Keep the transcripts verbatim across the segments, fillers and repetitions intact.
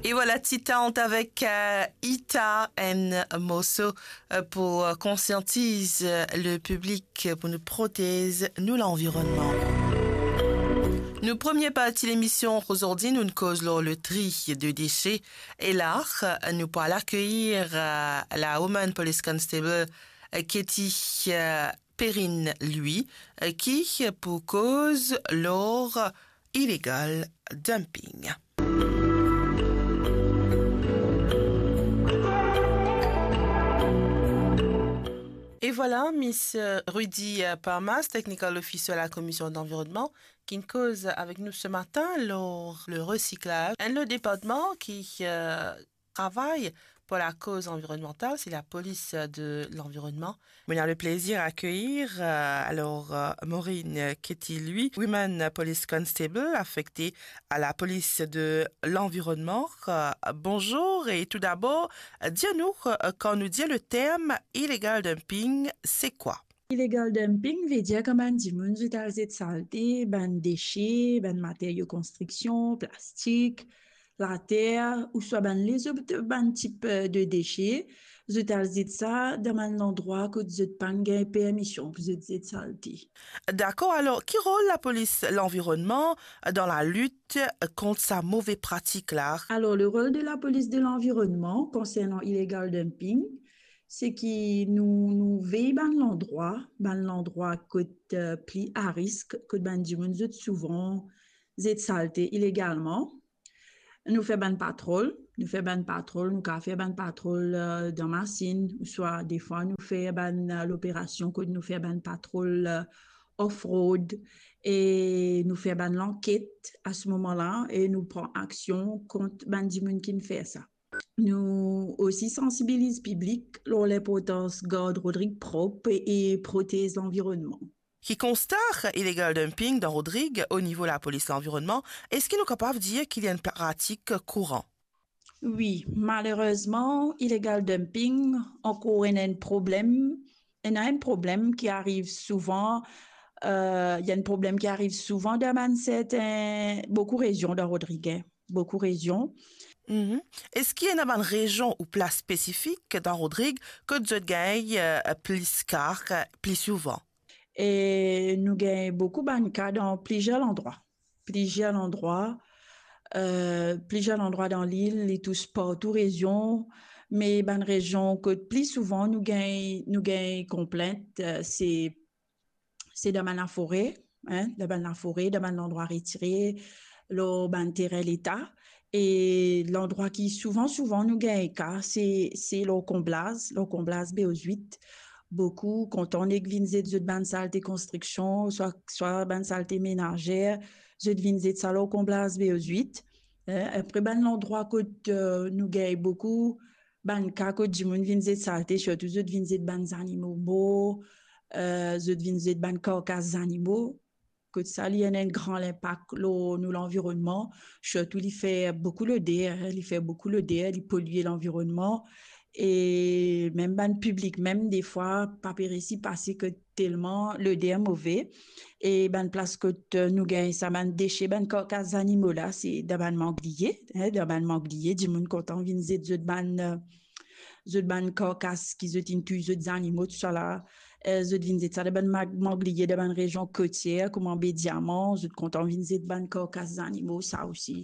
E vwala Titan avek, euh, Ita, enn morso, euh, pou, euh, konsiantiz, euh, le piblik, euh, pou nou protez nou lanvironnman. Nou premie parti lemision ozordi, nou'nn koz lor le tri de dese. E la, euh, nou pou al akeyir, euh, la Woman Police Constable, euh, Katie, euh, Perrine Louis, euh, ki pou koz lor illegal dumping. E vwala, Miss, euh, Rudy, euh, Parmas, Technical Officer la Commission de l'Environnement, ki'nn koz avek nou se matin lor le resiklaz. Enn lot departman ki, euh, travay pou lakoz anvironmantal, se lapolis de lanvironnman. Mo'nn ena le plezir akeyir, euh, alor, euh, Maureen Katie Louis, Woman Police Constable, afekte a lapolis de lanvironnman. Euh, bonzour e toudabor, euh, dir nou, euh, kan nou dir le term illegal dumping, se kwa? Illegal dumping ve dir kan bann dimoun zot al zet salte, bann dese, bann materio konstriksion, plastik, later, ouswa bann lezot, bann tip, euh, de dese, zot al zet sa dan bann landrwa kot zot pa'nn gagn permision pou zot zet salte. Dakor, alor, ki rol lapolis lanvironnman dan lalit kont sa move pratik la? Alor, le rol de lapolis de lanvironnman konsernan illegal dumping, se ki nou, nou vey bann landrwa, bann landrwa kot, euh, pli a risk, kot bann dimoun zot souvan zet salte ilegalman. Nou fer bann patrol, nou fer bann patrol, nou kapav fer bann patrol, euh, dan masinn, ouswa defwa nou fer bann, euh, loperasion kot nou fer bann patrol, euh, off-road, e nou fer bann lanket a se moman la, e nou pran aksion kont bann dimoun ki'nn fer sa. Nou osi sansibiliz piblik lor linportans gard Rodrig prop e protez lanvironnman. Ki konsta illegal dumping dan Rodrig o nivo lapolis lanvironnman, eski nou kapav dir ki li enn pratik kouran? Wi, malerezman, illegal dumping ankor enn, enn problem, ena enn problem ki ariv souvan, euh, ena enn problem ki ariv souvan dan bann serten, boukou rezion dan Rodrig, hein, boukou rezion. Mhm. Eski ena bann rezion ou plas spesifik dan Rodrig kot zot gagn, euh, plis ka, pli souvan? E nou gagn boukou bann ka dan plizier landrwa. Plizier landrwa, euh, plizier landrwa dan lil, li tous partou rezion, me bann rezion kot pli souvan nou gagn, nou gagn konplint, euh, se, se dan bann lafore, hein, dan bann lafore, dan bann landrwa retire, lor bann terin leta. E landrwa ki souvan, souvan nou gagn ka, se, se lor konblaz, lor konblaz B O zwit. Boukou kontan nek vinn zet zot bann salte konstriksion, swa, swa bann salte menazer, zot vinn zet sa lor konblaz B O zwit. Eh, apre bann landrwa kot, euh, nou gagn boukou bann ka kot dimoun vinn zet salte, sirtou zot vinn zet bann zanimo mor, euh, zot vinn zet bann karkas zanimo. Kot sa, li ena enn gran linpak lor nou lanvironnman, sirtou li fer boukou loder, li fer boukou loder, li polie lanvironnman, e mem bann piblik mem, defwa, pa pe resi pase kot telman loder move, e bann plas kot, euh, nou gagn sa bann dese, bann karkas zanimo la, se dan bann mangliye, hein, dan bann mangliye, dimoun kontan vinn zet zot bann, euh, zot bann karkas ki zot inn touy zot zanimo, tousala, eh, zot vinn zet sa dan bann mag-, mangliye, dan bann rezion kotier, kouma Be Diaman, zot kontan vinn zet bann karkas zanimo, sa osi.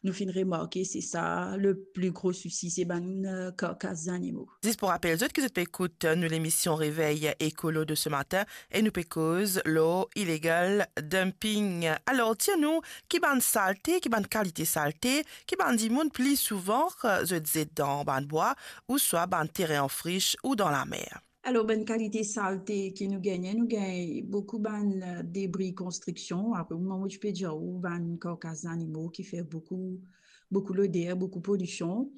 Nou finn remarke, se sa, le pli gro sousi, se bann, eh, karkas zanimo. Zis pou rapel zot ki zot pe ekout, eh, nou lemision Revey Ekolo de ce matin, e nou pe koz lor illegal dumping. Alor, dir nou, ki bann salte, ki bann kalite salte, ki bann dimoun pli souvan, eh, zot zet dan bann bwa, ouswa bann terin an fris ou dan lamer? Alor, bann kalite salte ki nou gagne, nou gagn boukou bann, eh, debri konstriksion. Apre, mo, mo ti pe dir ou, bann karkas zanimo ki fer boukou, boukou loder, boukou polision.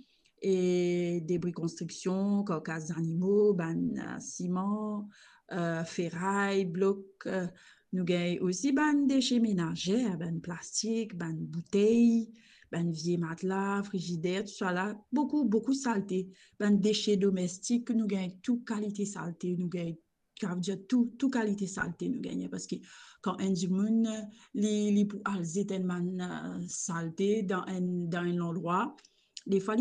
E debri konstriksion, karkas zanimo, bann, eh, siman, eh, feray, blok, eh, nou gagn osi bann dese menazer, bann plastik, bann boutey, bann vie matla, frizider, tousala, boukou, boukou salte. Bann dese domestik, nou gagn tou kalite salte, nou gagn, sa ve dir tou, tou kalite salte nou gagn, parski kan enn dimoun, li, li pou al zet enn bann, eh, salte dan enn, dan enn landrwa, Defwa li